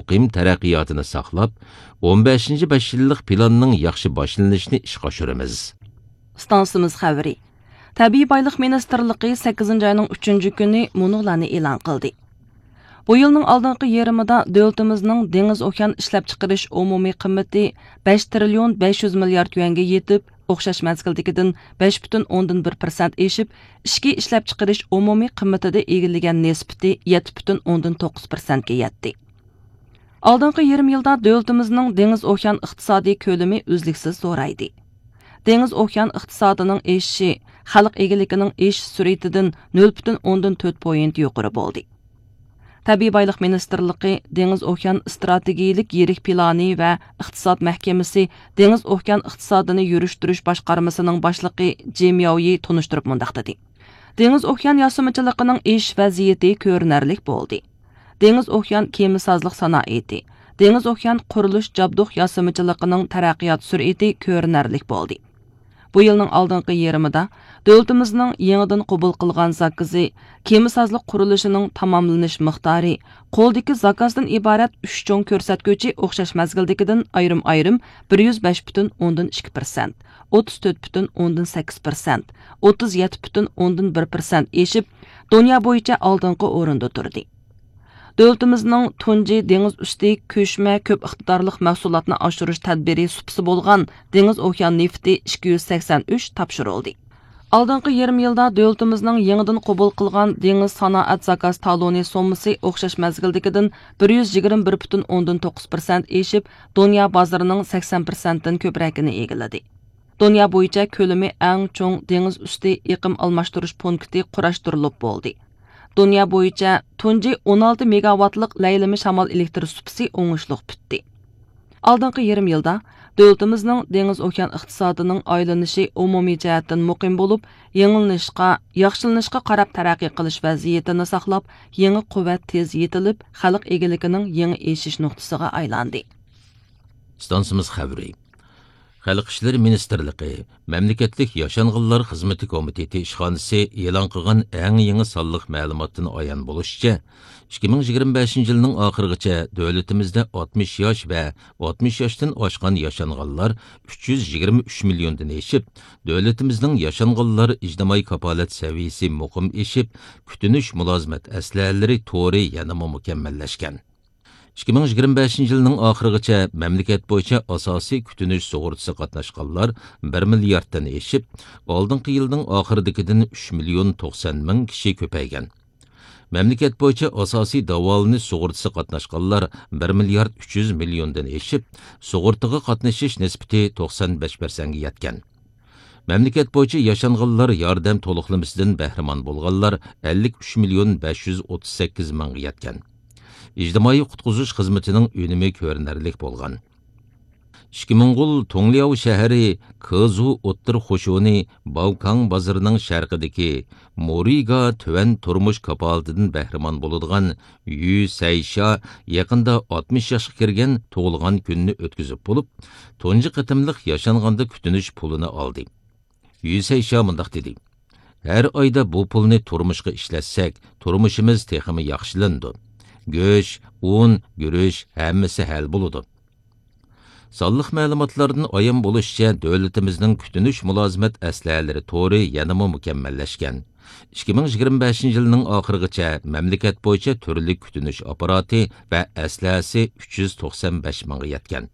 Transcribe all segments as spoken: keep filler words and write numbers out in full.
مۇقىم تەرەققىياتىنى ساقلاپ، ئون بەشىنچى بەش يىللىق پىلاننىڭ ياخشى باشلىنىشىنى ئىشقا ئاشۇرىمىز. ئىستانسىمىز خەۋىرى. تەبىئىي بايلىق مىنىستىرلىقى سەككىزىنچى ئاينىڭ ئۈچىنچى كۈنى مۇنۇلارنى ئېلان قىلدى. بۇ يىلنىڭ ئالدىنقى يېرىمىدا دۆلىتىمىزنىڭ دېڭىز ئوكيان ئىشلەپچىقىرىش ئومۇمىي قىممىتى بەش تىرىليون بەش يۈز مىليارد يۈەنگە يېتىپ، ئوخشاش مەزگىلدىكىدىن بەش پۈتۈن ئوندىن بىر پىرسەنت ئېشىپ، ئىچكى ئىشلەپچىقىرىش ئومۇمىي قىممىتىدە ئىگىلىگەن نىسبىتى يەتتە پۈتۈن ئوندىن توققۇز پىرسەنتكە يەتتى. ئالدىنقى يېرىم يىلدا دۆلىتىمىزنىڭ دېڭىز ئوكيان ئىقتىسادىي كۆلىمى ئۈزلۈكسىز زورايدى. دېڭىز ئوكيان ئىقتىسادىنىڭ ئېشىشى خەلق ئىگىلىكىنىڭ ئېشىش سۈرئىتىدىن نۆل پۈتۈن ئوندىن تۆت پوينت يۇقىرى بولدى. تەبىئىي بايلىق مىنىستىرلىقى دېڭىز ئوكيان ئىستراتېگىيىلىك يىرىك پىلانى ۋە ئىقتىساد مەھكىمىسى دېڭىز ئوكيان ئىقتىسادىنى يۈرۈشتۈرۈش باشقارمىسىنىڭ باشلىقى جى مياۋيى تونۇشتۇرۇپ مۇنداق دېدى: دېڭىز ئوكيان ياسىمىچىلىقىنىڭ ئېشىش ۋەزىيىتى كۆرۈنەرلىك بولدى. دېڭىز ئوكيان كېمىسازلىق سانائىتى، دېڭىز ئوكيان قۇرۇلۇش جابدۇق ياسىمىچىلىقىنىڭ تەرەققىيات سۈرئىتى كۆرۈنەرلىك بولدى. بۇ يىلنىڭ ئالدىنقى يېرىمىدا دۆلىتىمىزنىڭ يېڭىدىن قوبۇل قىلغان زاكىزى، كېمىسازلىق قۇرۇلۇشىنىڭ تاماملىنىش مىقدارى، قولدىكى زاكازدىن ئىبارەت ئۈچ چوڭ كۆرسەتكۈچى ئوخشاش مەزگىلدىكىدىن ئايرىم-ئايرىم بىر يۈز بەش پۈتۈن ئوندىن ئىككى پىرسەنت، ئوتتۇز تۆت پۈتۈن ئوندىن سەككىز پىرسەنت، ئوتتۇز يەتتە پۈتۈن ئوندىن بىر پىرسەنت ئېشىپ، دۇنيا بويىچە ئالدىنقى ئورۇندا تۇردى. دۆلىتىمىزنىڭ تۇنجى دېڭىز ئۈستى كۆچمە كۆپ ئىقتىدارلىق مەھسۇلاتنى ئاشۇرۇش تەدبىرى سۇپىسى بولغان دېڭىز ئوكيان نېفىتى ئىككى يۈز سەكسەن ئۈچ تاپشۇرۇلدى. ئالدىنقى يېرىم يىلدا دۆلىتىمىزنىڭ يېڭىدىن قوبۇل قىلغان دېڭىز سانائەت زاكاز تالونى سوممىسى ئوخشاش مەزگىلدىكىدىن بىر يۈز يىگىرمە بىر پۈتۈن ئوندىن توققۇز پىرسەنت ئېشىپ، دۇنيا بازىرىنىڭ سەكسەن پىرسەنتتىن كۆپرەكىنى ئىگىلىدى. دۇنيا بويىچە كۆلىمى ئەڭ چوڭ دېڭىز ئۈستى ئېقىم ئالماشتۇرۇش پونكىتى قۇراشتۇرۇلۇپ بولدى. دۇنيا بويىچە تۇنجى ئون ئالتە مېگاۋاتلىق لەيلىمە شامال ئېلېكتر سۇپىسى ئوڭۇشلۇق پۈتتى. ئالدىنقى يېرىم يىلدا دۆلىتىمىزنىڭ دېڭىز ئوكيان ئىقتىسادىنىڭ ئايلىنىشى ئومۇمىي جەھەتتىن مۇقىم بولۇپ، يېڭىلىنىشقا، ياخشىلىنىشقا قاراپ تەرەققىي قىلىش ۋەزىيىتىنى ساقلاپ، يېڭى قۇۋۋەت تېز يېتىلىپ، خەلق ئىگىلىكىنىڭ يېڭى ئېشىش نۇقتىسىغا ئايلاندى. ئىستانسىمىز خەۋىرى. خەلق ئىشلىرى مىنىستىرلىقى مەملىكەتلىك ياشانغانلار خىزمىتى كومىتېتى ئىشخانىسى ئېلان قىلغان ئەڭ يېڭى سانلىق مەلۇماتتىن ئايان بولۇشىچە، ئىككى مىڭ يىگىرمە بەشىنچى يىلنىڭ ئاخىرىغىچە دۆلىتىمىزدە ئاتمىش ياش ۋە ئاتمىش ياشتىن ئاشقان ياشانغانلار ئۈچ يۈز يىگىرمە ئۈچ مىليوندىن ئېشىپ، دۆلىتىمىزنىڭ ياشانغانلار ئىجتىمائىي كاپالەت سەۋىيىسى مۇقىم ئېشىپ، كۈتۈنۈش مۇلازىمەت ئەسلىھەلىرى تورى يەنىمۇ مۇكەممەللەشكەن. ئىككى مىڭ يىگىرمە بەشىنچى يىلنىڭ ئاخىرىغىچە مەملىكەت بويىچە ئاساسىي كۈتۈنۈش سۇغۇرتىسىغا قاتناشقانلار بىر مىلياردتىن ئېشىپ، ئالدىنقى يىلنىڭ ئاخىرىدىكىدىن ئۈچ مىليون توقسان مىڭ كىشى كۆپەيگەن. مەملىكەت بويىچە ئاساسىي داۋالىنىش سۇغۇرتىسىغا قاتناشقانلار بىر مىليارد ئۈچ يۈز مىليوندىن ئېشىپ، سۇغۇرتىغا قاتنىشىش نىسبىتى توقسان بەش پىرسەنتكە يەتكەن. مەملىكەت بويىچە ياشانغانلار ياردەم تولۇقلىمىسىدىن بەھرىمەن بولغانلار ئەللىك ئۈچ مىليون بەش يۈز ئوتتۇز سەككىز مىڭغا يەتكەن. ئىجتىمائىي قۇتقۇزۇش خىزمىتىنىڭ ئۈنۈمى كۆرۈنەرلىك بولغان. ئىككى موڭغۇل تۇڭلياۋ شەھىرى كېزۇ ئوتتۇرا قوشۇنى باۋكاڭ بازىرىنىڭ شەرقىدىكى مورىگا تۆۋەن تۇرمۇش كاپالىتىدىن بەھرىمەن بولىدىغان يۈ سەيشيا يېقىندا ئاتمىش ياشقا كىرگەن تۇغۇلغان كۈنىنى ئۆتكۈزۈپ بولۇپ، تۇنجى قېتىملىق ياشانغاندا كۈتۈنۈش پۇلىنى ئالدى. يۈ سەيشيا مۇنداق دېدى: «ھەر ئايدا بۇ پۇلنى تۇرمۇشقا ئىشلەتسەك، تۇرمۇشىمىز تېخىمۇ ياخشىلىنىدۇ. گۆش، ئۇن، گۈرۈچ، ھەممىسى ھەل بولىدۇ.» سانلىق مەلۇماتلاردىن ئايان بولۇشىچە، دۆلىتىمىزنىڭ كۈتۈنۈش مۇلازىمەت ئەسلىھەلىرى تورى يەنىمۇ مۇكەممەللەشكەن. ئىككى مىڭ يىگىرمە بەشىنچى يىلنىڭ ئاخىرىغىچە مەملىكەت بويىچە تۈرلۈك كۈتۈنۈش ئاپپاراتى ۋە ئەسلىھەسى ئۈچ يۈز توقسان بەش مىڭغا يەتكەن.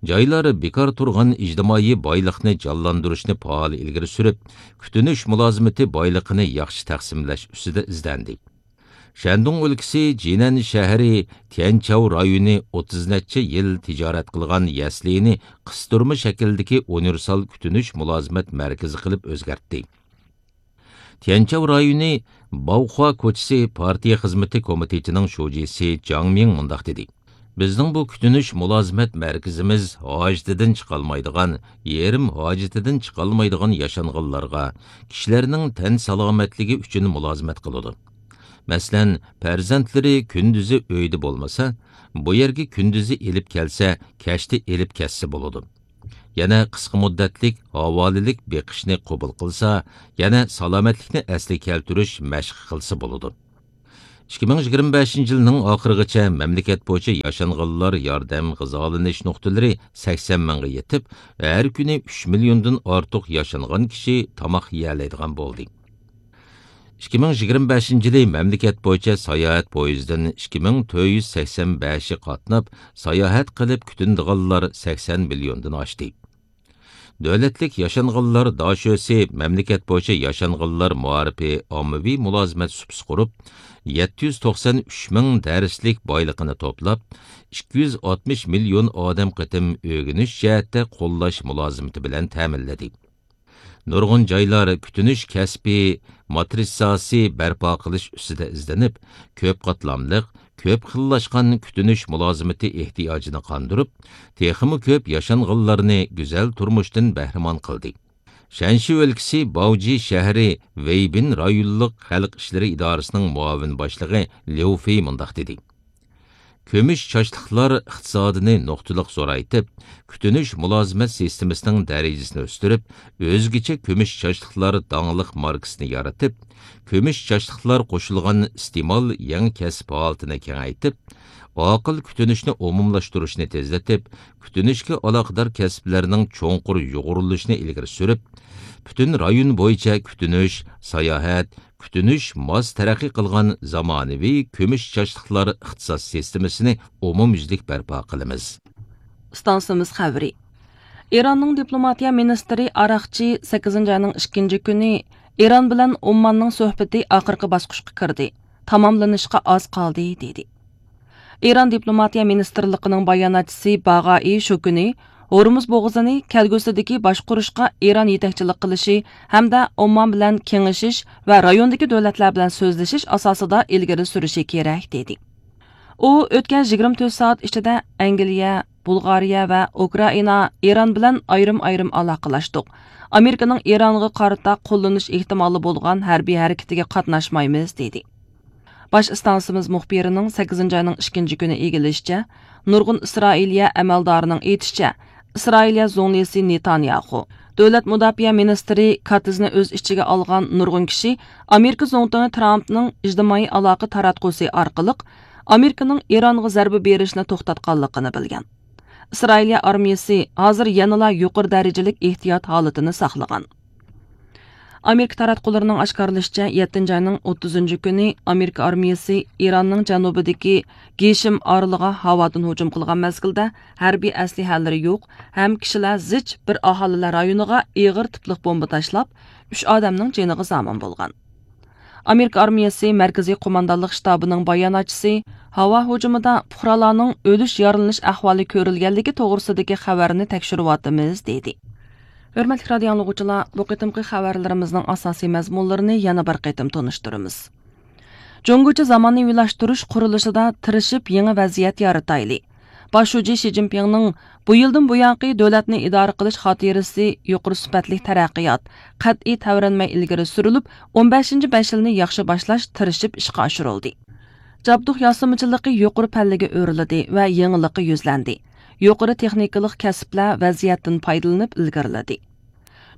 جايلار بىكار تۇرغان ئىجتىمائىي بايلىقنى جانلاندۇرۇشنى پائال ئىلگىرى سۈرۈپ، كۈتۈنۈش مۇلازىمىتى بايلىقىنى ياخشى تەقسىملەش ئۈستىدە ئىزدەندى. شەندۇڭ ئۆلكىسى جىنەن شەھىرى تيەنچاۋ رايونى ئوتتۇز نەچچە يىل تىجارەت قىلغان يەسلىنى قىستۇرما شەكىلدىكى ئۇنىۋېرسال كۈتۈنۈش مۇلازىمەت مەركىزى قىلىپ ئۆزگەرتتى. تيەنچاۋ رايونى باۋخۇا كوچىسى پارتىيە خىزمىتى كومىتېتىنىڭ شۇجىسى جاڭ مىڭ مۇنداق دېدى: «بىزنىڭ بۇ كۈتۈنۈش مۇلازىمەت مەركىزىمىز ھاجىتىدىن چىقالمايدىغان، يېرىم ھاجىتىدىن چىقالمايدىغان ياشانغانلارغا، كىشىلەرنىڭ تەن سالامەتلىكى ئۈچۈن مۇلازىمەت قىلىدۇ. مەسىلەن، پەرزەنتلىرى كۈندۈزى ئۆيدە بولمىسا، بۇ يەرگە كۈندۈزى ئېلىپ كەلسە، كەچتە ئېلىپ كەتسە بولىدۇ. يەنە قىسقا مۇددەتلىك ھاۋالىلىك بېقىشنى قوبۇل قىلسا، يەنە سالامەتلىكنى ئەسلىگە كەلتۈرۈش مەشقى قىلسا بولىدۇ.» ئىككى مىڭ يىگىرمە بەشىنچى يىلنىڭ ئاخىرىغىچە مەملىكەت بويىچە ياشانغانلار ياردەم غىزالىنىش نۇقتىلىرى سەكسەن مىڭغا يېتىپ، ھەر كۈنى ئۈچ مىليوندىن ئارتۇق ياشانغان كىشى تاماق يېيەلەيدىغان بولدى. ئىككى مىڭ يىگىرمە بەشىنچى يىلى مەملىكەت بويىچە ساياھەت پويىزىدىن ئىككى مىڭ تۆت يۈز سەكسەن بەشى قاتناپ، ساياھەت قىلىپ كۈتۈنىدىغانلار سەكسەن مىليوندىن ئاشتى. دۆلەتلىك ياشانغانلار داشۆسى مەملىكەت بويىچە ياشانغانلار مائارىپى ئاممىۋى مۇلازىمەت سۇپىسى قۇرۇپ، يەتتە يۈز توقسان ئۈچ مىڭ دەرسلىك بايلىقىنى توپلاپ، ئىككى يۈز ئاتمىش مىليون ئادەم قېتىم ئۆگىنىش جەھەتتە قوللاش مۇلازىمىتى بىلەن تەمىنلىدى. نۇرغۇن جايلار كۈتۈنۈش كەسپى ماترىتساسى بەرپا قىلىش ئۈستىدە ئىزدىنىپ، كۆپ قاتلاملىق، كۆپ خىللاشقان كۈتۈنۈش مۇلازىمىتى ئېھتىياجىنى قاندۇرۇپ، تېخىمۇ كۆپ ياشانغانلارنى گۈزەل تۇرمۇشتىن بەھرىمەن قىلدى. شەنشى ئۆلكىسى باۋجى شەھىرى ۋېيبىن رايونلۇق خەلق ئىشلىرى ئىدارىسىنىڭ مۇئاۋىن باشلىقى ليۇ فېي مۇنداق دېدى: كۈمۈش چاچلىقلار ئىقتىسادىنى نۇقتىلىق زورايتىپ، كۈتۈنۈش مۇلازىمەت سىستېمىسىنىڭ دەرىجىسىنى ئۆستۈرۈپ، ئۆزگىچە كۈمۈش چاچلىقلار داڭلىق ماركىسىنى يارىتىپ، كۈمۈش چاچلىقلار قوشۇلغان ئىستېمال يېڭى كەسىپ ھالىتىنى كېڭەيتىپ، ئاقىل كۈتۈنۈشنى ئومۇملاشتۇرۇشنى تېزلىتىپ، كۈتۈنۈشكە ئالاقىدار كەسىپلەرنىڭ چوڭقۇر يۇغۇرۇلۇشىنى ئىلگىرى سۈرۈپ، پۈتۈن رايون بويىچە كۈتۈنۈش، ساياھەت، كۈتۈنۈش ماس تەرەققىي قىلغان زامانىۋى كۈمۈش چاچلىقلار ئىقتىساد سىستېمىسىنى ئومۇميۈزلۈك بەرپا قىلىمىز. ئىستانسىمىز خەۋىرى. ئىراننىڭ دىپلوماتىيە مىنىستىرى ئاراقچى سەككىزىنچى ئاينىڭ ئىككىنچى كۈنى ئىران بىلەن ئومماننىڭ سۆھبىتى ئاخىرقى باسقۇچقا كىردى، تاماملىنىشقا ئاز قالدى، دېدى. ئىران دىپلوماتىيە مىنىستىرلىقىنىڭ باياناتچىسى باغائى شۇ كۈنى ھورمۇز بوغۇزىنى كەلگۈسىدىكى باشقۇرۇشقا ئىران يېتەكچىلىك قىلىشى ھەمدە ئوممان بىلەن كېڭىشىش ۋە رايوندىكى دۆلەتلەر بىلەن سۆزلىشىش ئاساسىدا ئىلگىرى سۈرۈشى كېرەك، دېدى. ئۇ ئۆتكەن يىگىرمە تۆت سائەت ئىچىدە ئەنگلىيە، بۇلغارىيە ۋە ئۇكرائىنا ئىران بىلەن ئايرىم-ئايرىم ئالاقىلەشتۇق. ئامېرىكىنىڭ ئىرانغا قارىتا قوللىنىش ئېھتىمالى بولغان ھەربىي ھەرىكىتىگە قاتناشمايمىز، دېدى. باش ئىستانسىمىز مۇخبىرىنىڭ سەككىزىنچى ئاينىڭ ئىككىنچى كۈنى ئىگىلىشىچە، نۇرغۇن ئىسرائىلىيە ئەمەلدارىنىڭ ئېيتىشىچە، ئىسرائىلىيە زۇڭلىسى نېتانياخۇ، دۆلەت مۇداپىئە مىنىستىرى كاتزنى ئۆز ئىچىگە ئالغان نۇرغۇن كىشى ئامېرىكا زۇڭتۇڭى ترامپنىڭ ئىجتىمائىي ئالاقە تاراتقۇسى ئارقىلىق ئامېرىكىنىڭ ئىرانغا زەربە بېرىشنى توختاتقانلىقىنى بىلگەن. ئىسرائىلىيە ئارمىيىسى ھازىر يەنىلا يۇقىرى دەرىجىلىك ئېھتىيات ھالىتىنى ساقلىغان. ئامېرىكا تاراتقۇلىرىنىڭ ئاشكارىلىشىچە، يەتتىنچى ئاينىڭ ئوتتۇزىنچى كۈنى ئامېرىكا ئارمىيىسى ئىراننىڭ جەنۇبىدىكى گېشىم ئارىلىغا ھاۋادىن ھۇجۇم قىلغان مەزگىلدە، ھەربىي ئەسلىھەلىرى يوق ھەم كىشىلەر زىچ بىر ئاھالىلەر رايونىغا ئېغىر تىپلىق بومبا تاشلاپ، ئۈچ ئادەمنىڭ جېنىغا زامىن بولغان. ئامېرىكا ئارمىيەسى مەركىزىي قوماندانلىق شتابىنىڭ باياناتچىسى ھاۋا ھۇجۇمىدا پۇقرالارنىڭ ئۆلۈش، يارىلىنىش ئەھۋالى كۆرۈلگەنلىكى توغرىسىدىكى خەۋەرنى تەكشۈرۈۋاتىمىز، دېدى. ھۆرمەتلىك رادىيو ئاڭلىغۇچىلار، بۇ قېتىمقى خەۋەرلىرىمىزنىڭ ئاساسىي مەزمۇنلىرىنى يەنە بىر قېتىم تونۇشتۇرىمىز. جۇڭگوچە زامانىۋىلاشتۇرۇش قۇرۇلۇشىدا تىرىشىپ يېڭى ۋەزىيەت يارىتايلى. باش شۇجى شى جىنپىڭنىڭ بۇ يىلدىن بۇيانقى دۆلەتنى ئىدارە قىلىش خاتىرىسى يۇقىرى سۈپەتلىك تەرەققىيات، قەتئىي تەۋرەنمەي ئىلگىرى سۈرۈلۈپ، ئون بەشىنچى بەش يىلنى ياخشى باشلاش تىرىشىپ ئىشقا ئاشۇرۇلدى. جابدۇق ياسىمىچىلىقى يۇقىرى پەللىگە ئۆرلىدى ۋە يېڭىلىققا يۈزلەندى. يۇقىرى تېخنىكىلىق كەسىپلەر ۋەزىيەتتىن پايدىلىنىپ ئىلگىرىلىدى.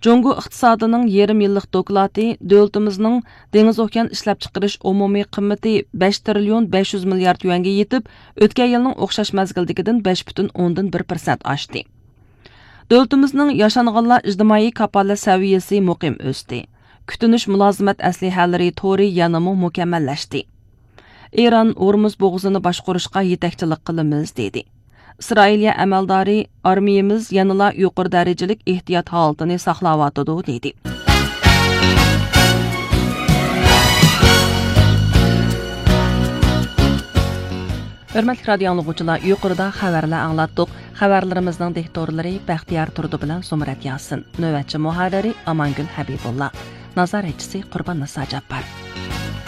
جۇڭگو ئىقتىسادىنىڭ يېرىم يىللىق دوكلاتى دۆلىتىمىزنىڭ دېڭىز ئوكيان ئىشلەپچىقىرىش ئومۇمىي قىممىتى بەش تىرىليون بەش يۈز مىليارد يۈەنگە يېتىپ، ئۆتكەن يىلنىڭ ئوخشاش مەزگىلدىكىدىن بەش پۈتۈن ئوندىن بىر پىرسەنت ئاشتى. دۆلىتىمىزنىڭ ياشانغانلار ئىجتىمائىي كاپالەت سەۋىيەسى مۇقىم ئۆستى. كۈتۈنۈش مۇلازىمەت ئەسلىھەلىرى تورى يەنىمۇ مۇكەممەللەشتى. ئىران ھورمۇز بوغۇزىنى باشقۇرۇشقا يېتەكچىلىك قىلىمىز، دېدى. ئىسرائىلىيە ئەمەلدارى، ئارمىيىمىز يەنىلا يۇقىرى دەرىجىلىك ئېھتىيات ھالىتىنى ساقلاۋاتىدۇ، دېدى. ھۆرمەتلىك رادىيو ئاڭلىغۇچىلار، يۇقىرىدا خەۋەرلەر ئاڭلاتتۇق. خەۋەرلىرىمىزنىڭ دىكتورلىرى بەختىيار تۇردى بىلەن زۇمرەت ياسىن. نۆۋەتچى مۇھەررىرى ئامانگۈل ھەبىبۇللا. نازارەتچىسى قۇربان نىسا جاپپار.